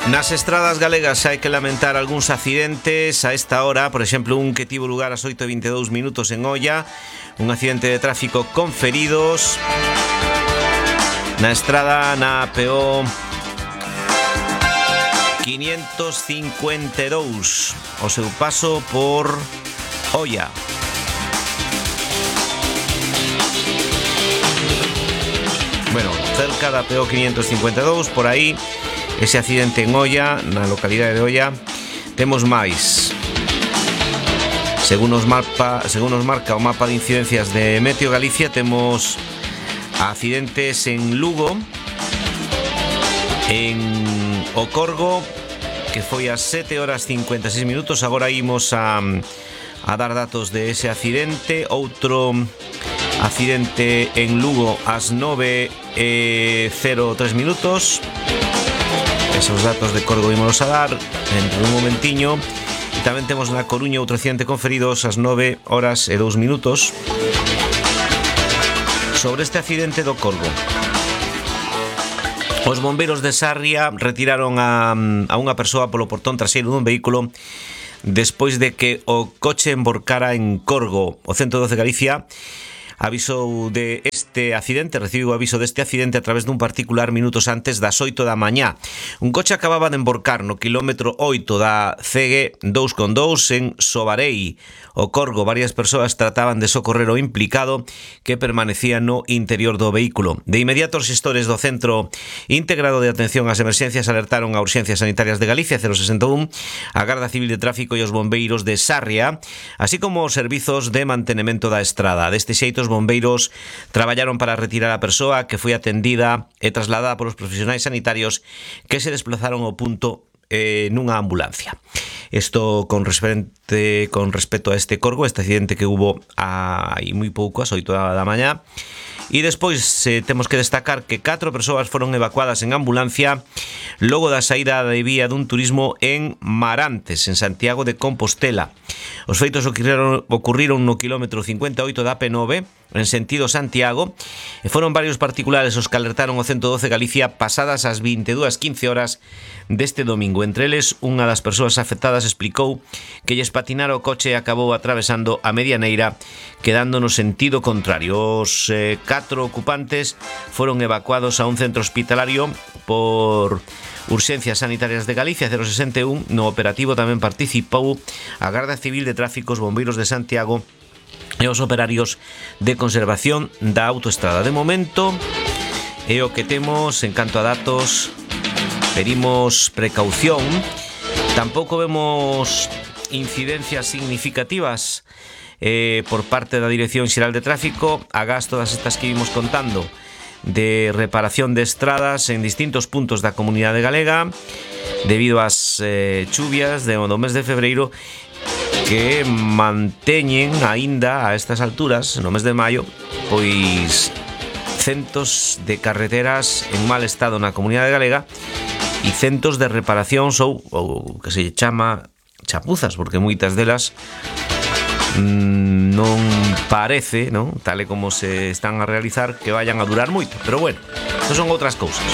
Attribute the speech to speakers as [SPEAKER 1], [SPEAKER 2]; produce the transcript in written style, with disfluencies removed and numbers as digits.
[SPEAKER 1] Nas estradas galegas hai que lamentar algúns accidentes a esta hora, por exemplo, un que tivo lugar ás 8:22 minutos en Oia, un accidente de tráfico con feridos na estrada na PO 552 o seu paso por Oia. Bueno, cerca da PO 552, por aí, ese accidente en Oia, na localidade de Oia. Temos máis. Según nos marca o mapa de incidencias de Meteo Galicia, temos accidentes en Lugo, en O Corgo, que foi ás 7:56 minutos. Agora imos a dar datos de ese accidente. Outro accidente en Lugo ás 9:03 minutos. Esos datos de Corgo ímonos a dar dentro dun momentiño. E tamén temos na Coruña outro accidente con feridos ás 9:02 minutos. Sobre este accidente do Corgo, os bombeiros de Sarria retiraron a unha persoa polo portón traseiro dun vehículo despois de que o coche emborcara en Corgo. O 112 Galicia avisou de este accidente, recibiu aviso deste accidente a través dun particular minutos antes das 8 da mañá. Un coche acababa de emborcar no quilómetro 8 da CG 2,2 en Sobarei, O Corgo. Varias persoas trataban de socorrer o implicado, que permanecía no interior do vehículo. De inmediato, os xestores do Centro Integrado de Atención ás Emerxencias alertaron a Urxencias Sanitarias de Galicia 061, a Garda Civil de Tráfico e os bombeiros de Sarria, así como os servizos de mantenimento da estrada. Deste xeito, os bombeiros traballaron para retirar a persoa, que foi atendida e trasladada polos profesionais sanitarios que se desplazaron ao punto nunha ambulancia. Isto con respecto a este Corgo, este accidente que hubo hai moi pouco, ás 8 da mañá. E despois temos que destacar que 4 persoas foron evacuadas en ambulancia logo da saída de vía dun turismo en Marantes, en Santiago de Compostela. Os feitos ocurriron no quilómetro 58 da P9 en sentido Santiago, e foron varios particulares os que alertaron o 112 Galicia pasadas as 22:15 horas deste domingo. Entre eles, unha das persoas afectadas explicou que lles patinara o coche e acabou atravesando a medianeira, quedando no sentido contrario. Os 4 ocupantes foron evacuados a un centro hospitalario por Urxencias Sanitarias de Galicia 061. No operativo tamén participou a Garda Civil de Tráfico, os bombeiros de Santiago e os operarios de conservación da autoestrada. De momento, é o que temos en canto a datos. Pedimos precaución. Tampouco vemos incidencias significativas por parte da Dirección Xeral de Tráfico, agás todas estas que vimos contando de reparación de estradas en distintos puntos da comunidade galega debido ás chuvias do mes de febreiro, que manteñen aínda a estas alturas, no mes de maio, pois centos de carreteras en mal estado na comunidade galega e centos de reparacións ou que se chama chapuzas, porque moitas delas non parece, non, tal e como se están a realizar, que vayan a durar moito, pero bueno, estas son outras cousas.